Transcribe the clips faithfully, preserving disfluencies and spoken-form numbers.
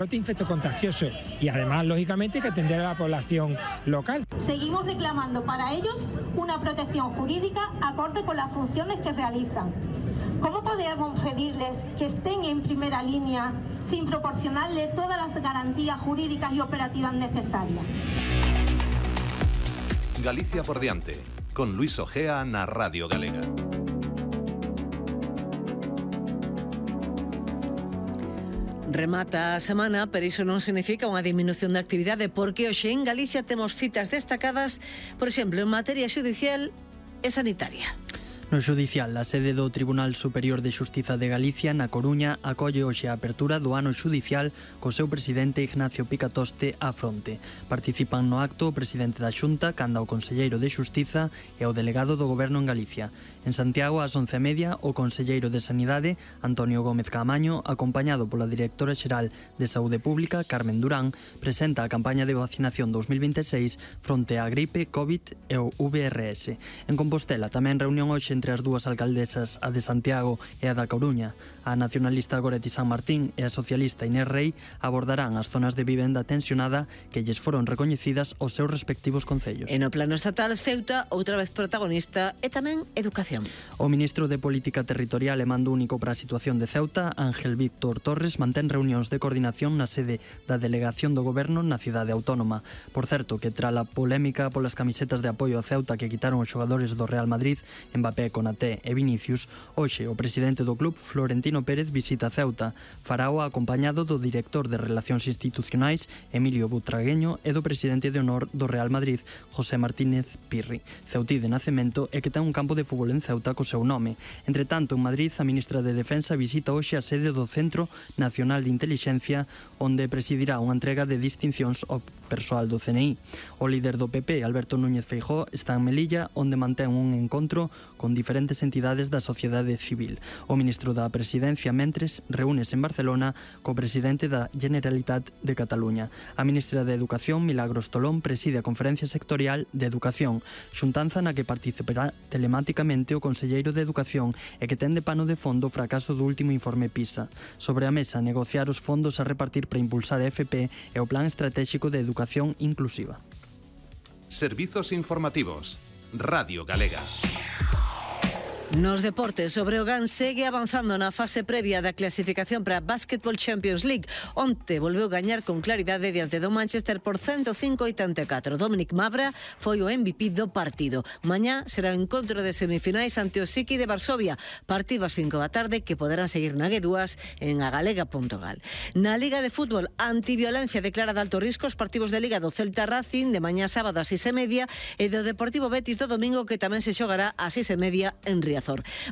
brote infectocontagioso y además, lógicamente, hay que atender a la población local. Seguimos reclamando para ellos una protección jurídica acorde con las funciones que realizan. ¿Cómo podemos pedirles que estén en primera línea sin proporcionarles todas las garantías jurídicas y operativas necesarias? Galicia por diante, con Luis Ojea na Radio Galega. Remata a semana, pero iso non significa unha diminución de actividade, porque hoxe en Galicia temos citas destacadas, por exemplo, en materia xudicial e sanitaria. No xudicial, a sede do Tribunal Superior de Xustiza de Galicia, na Coruña, acolle hoxe a apertura do ano xudicial co seu presidente Ignacio Picatoste á fronte. Participan no acto o presidente da Xunta, canda o conselleiro de Xustiza e o delegado do Goberno en Galicia. En Santiago, ás once e media, o conselleiro de Sanidade, Antonio Gómez Caamaño, acompañado pola directora xeral de Saúde Pública, Carmen Durán, presenta a campaña de vacinación dos mil veintiséis fronte á gripe, COVID e o V R S. En Compostela, tamén reunión hoxe entre as dúas alcaldesas, a de Santiago e a da Coruña. A nacionalista Goretti San Martín e a socialista Inés Rei abordarán as zonas de vivenda tensionada que lles foron recoñecidas aos seus respectivos concellos. E no plano estatal, Ceuta, outra vez protagonista, e tamén educación. O ministro de Política Territorial e Mando Único para a Situación de Ceuta, Ángel Víctor Torres, mantén reunións de coordinación na sede da Delegación do Goberno na cidade autónoma. Por certo, que tra a polémica polas camisetas de apoio a Ceuta que quitaron os xogadores do Real Madrid, Mbappé, Konaté e Vinicius, hoxe o presidente do club, Florentino Pérez, visita Ceuta. Farao acompañado do director de Relacións Institucionais, Emilio Butragueño, e do presidente de honor do Real Madrid, José Martínez Pirri. Ceutí de nacemento e que ten un campo de fútbol en Ceuta co seu nome. Entre tanto, en Madrid, a ministra de Defensa visita hoxe a sede do Centro Nacional de Intelixencia, onde presidirá unha entrega de distincións ao persoal do C N I. O líder do P P, Alberto Núñez Feijóo, está en Melilla, onde mantén un encontro con diferentes entidades da sociedade civil. O ministro da Presidencia, mentres, reúnese en Barcelona co presidente da Generalitat de Cataluña. A ministra de Educación, Milagros Tolón, preside a conferencia sectorial de Educación, xuntanza na que participará telemáticamente o conselleiro de Educación e que ten de pano de fondo o fracaso do último informe PISA. Sobre a mesa, negociar os fondos a repartir para impulsar a F P e o Plan Estratégico de Educación Inclusiva. Servizos informativos. Radio Galega. Nos deportes, o Breogán segue avanzando na fase previa da clasificación para a Basketball Champions League. Onte volveu gañar con claridade diante do Manchester por ciento cinco a oitenta e catro. Dominic Mavra foi o M V P do partido. Mañá será o encontro de semifinais ante o Siki de Varsovia, partido ás cinco da tarde que poderán seguir na G dúas en agalega punto gal. Na Liga de Fútbol, antiviolencia declara de alto risco os partidos de Liga do Celta Racing de mañá sábado ás seis e media e do Deportivo Betis do domingo, que tamén se xogará ás seis e media en Riazor.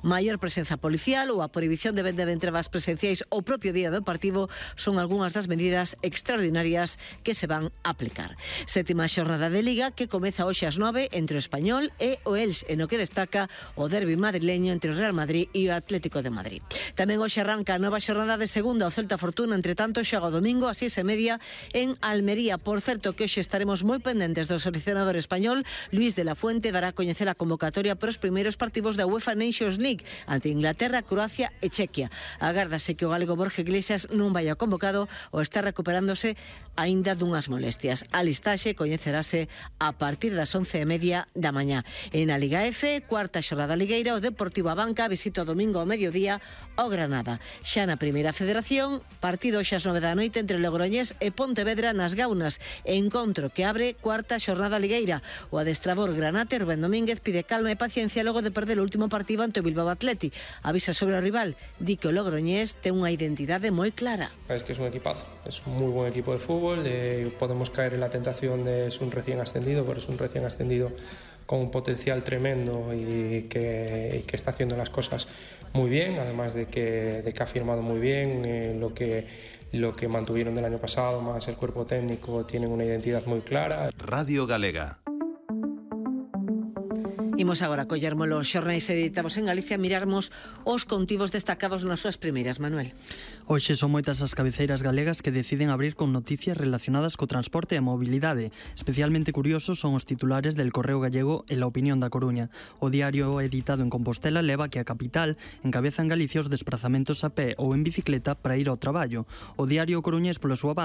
Maior presenza policial ou a prohibición de venda de entrabas presenciais o propio día do partido son algunhas das medidas extraordinarias que se van a aplicar. Sétima xornada de Liga que comeza hoxe ás nove entre o Español e o Elx, en o que destaca o derbi madrileño entre o Real Madrid e o Atlético de Madrid. Tamén hoxe arranca a nova xornada de segunda o Celta Fortuna, entre tanto xoga o domingo ás seis e media en Almería. Por certo que hoxe estaremos moi pendentes do seleccionador español. Luis de la Fuente dará a coñecer a convocatoria para os primeiros partidos da UEFA Nations League ante Inglaterra, Croacia e Chequia. Agárdase que o galego Borja Iglesias non vai a convocado ou está recuperándose aínda dunhas molestias. A listaxe coñecerase a partir das once e media da mañá. En a Liga F, cuarta xornada ligueira, o Deportivo Abanca visita o domingo ao mediodía ao Granada. Xa na Primeira Federación, partido xa ás nove da noite entre Logroñés e Pontevedra nas Gaunas. Encontro que abre cuarta xornada ligueira. O adestrador granate Rubén Domínguez pide calma e paciencia logo de perder o último partido ante o Bilbao Athletic. Avisa sobre o rival, di que o Logroñés ten unha identidade moi clara. Es que es un equipazo, es un muy buen equipo de fútbol, eh, podemos caer en la tentación de es un recién ascendido, pero es un recién ascendido con un potencial tremendo y que, y que está haciendo las cosas muy bien, además de que, de que ha firmado muy bien eh, lo que lo que mantuvieron del año pasado, más el cuerpo técnico, tienen una identidad muy clara. Radio Galega. Imos agora collermos os xornais editados en Galicia, mirarmos os contivos destacados nas súas primeiras, Manuel. Hoxe son moitas as cabeceiras galegas que deciden abrir con noticias relacionadas co transporte e a mobilidade. Especialmente curiosos son os titulares del Correo Gallego e La Opinión da Coruña. O diario editado en Compostela leva que a capital encabeza en Galicia os desprazamentos a pé ou en bicicleta para ir ao traballo. O diario coruñés, pola súa banda,